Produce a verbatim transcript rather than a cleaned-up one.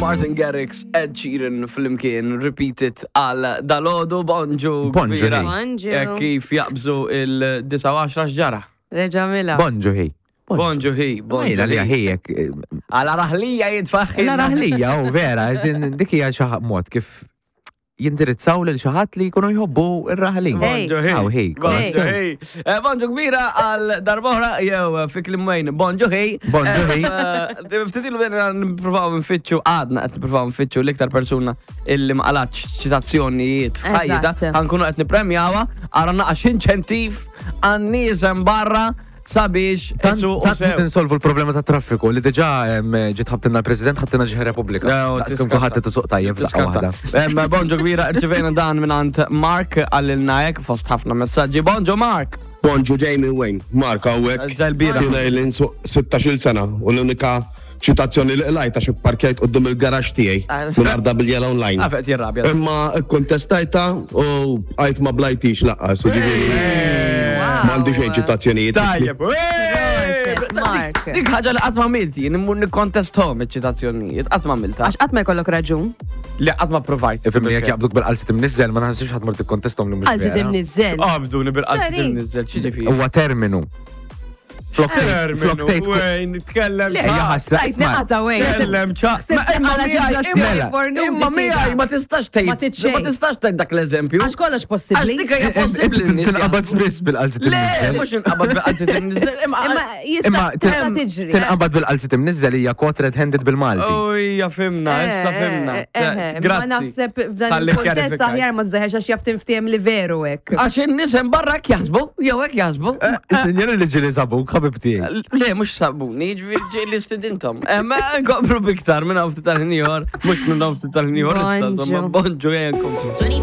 Martin Garrix, Ed Sheeran flimkien, Repeat It għal dalgħodu, bonġu. Bonġu, kbira. hi. Bonġu. Eh, Kif jaqbżu il-disgħa u għaxra x'ġara? Reġa mila. Bonġu hi. Bonġu hi, bonġu. Għajna li hi. ħijek. Għala raħlija jitfaħħi. La raħlija, u vera, eżin dik hija xi mod kif jindirizzaw lil xi ħadd li jkunu jħobbu ir-raħlin. Hey. Bonġu hi. Aw, hi. Bonġu Hey. hi. Eh, Bonġu kbira għal darb'oħra jew fi kliem Wayne. Bonġu hi. Bonġu hi. Eh, Ftit ilu bdejna nippruvaw nfittxu, għadna qed nippruvaw nfittxu l-iktar persuna illi ma qalatx ċitazzjonijiet f'ħajjita. Eżatt. Ħa nkunu qed nippremjawha, ara naqax inċentiv għan-nies hemm barra sabiex Tant isu u tant sew. qed insolvu l-problema ta' traffiku li diġà em, ġiet ħabtilna l-President, ħabtilna ġieħ Repubblika. No, Daqs kemm tiskatta. kulħadd qed isuq tajjeb f'daqqa Tiskatta. waħda. Em, Bonġu kbira, rċivejna dan minn Mark għallilna hekk fost ħafna messaġġi. Bonġu Mark! Bonġu Jamie Wayne, Mark hawnhekk. Ġal-bira. Jiena ili nsuq sittax-il sena u l-unika ċitazzjoni li qlajt għax ipparkjajt quddiem il-garaxx tiegħi minn arda bil-yellow line. Għafet jirrabja. Imma kontestajta u għajt ma blajtix lanqas, u ġifieri m'għandi xejn ċitazzjonijiet. Tajjeb, Proset, Mark. Dik ħaġa li qatt ma għamilt jien immur nikkontesthom iċ-ċitazzjonijiet, qatt ma għamilta. Għax qatt ma jkollok raġun. Li qatt ma provajt. Ifimni jekk jaqbduk bil-qalzi timnizzel, ma naħsibx ħadd mur tikkontestom li mhux Għalzi vera. timnizzel. Qabduni bil-qalzi Sorry. timnizzel, x'ġifieri. Huwa terminu. Flok tgħid- flok tgħid Wayne, tkellem Le, hija ħasra, Tajt isma' naqata Wayne. Tkellem ċa. Ħsibt Ma- imma għala miegħi- ċitazzjoni imma- fornuti Imma miegħi tida. ma tistax tgħid. Ma tgħid xejn. Ma tistax tgħid dak l-eżempju. Għax kollox Għax possibbli. dik hija possibbli n-nies Tinqabad jaħsbu. spiss bil-qalzi Le, timnizzel. mhux inqabad bil-qalzi timnizzel. Imma Imma jista' Imma tista' tiġri. tinqabad bil-qalzi timnizzel hija caught red-handed bil-Malti. Ujja, fhimna, issa Eh, fhimna. eh, eh, Ma Grazzi. naħseb f'dan Tal-li il-kontest kjarifikajt. aħjar ma tużaħiex għax jaf tinftiem li veru hekk. Għax in-nies hemm barra hekk jaħsbu, jew hekk jaħsbu. Sinjori li ġili sabuk, ħabib tiegħi. Le, mhux sabuni, ġifieri ġieli stidintom. Ma nkomplu biktar minn hawn ftit tal-ħin ieħor, mhux minn hawn ftit tal-ħin ieħor issa, insomma, Bonġu. bonġu ejja nkomplu.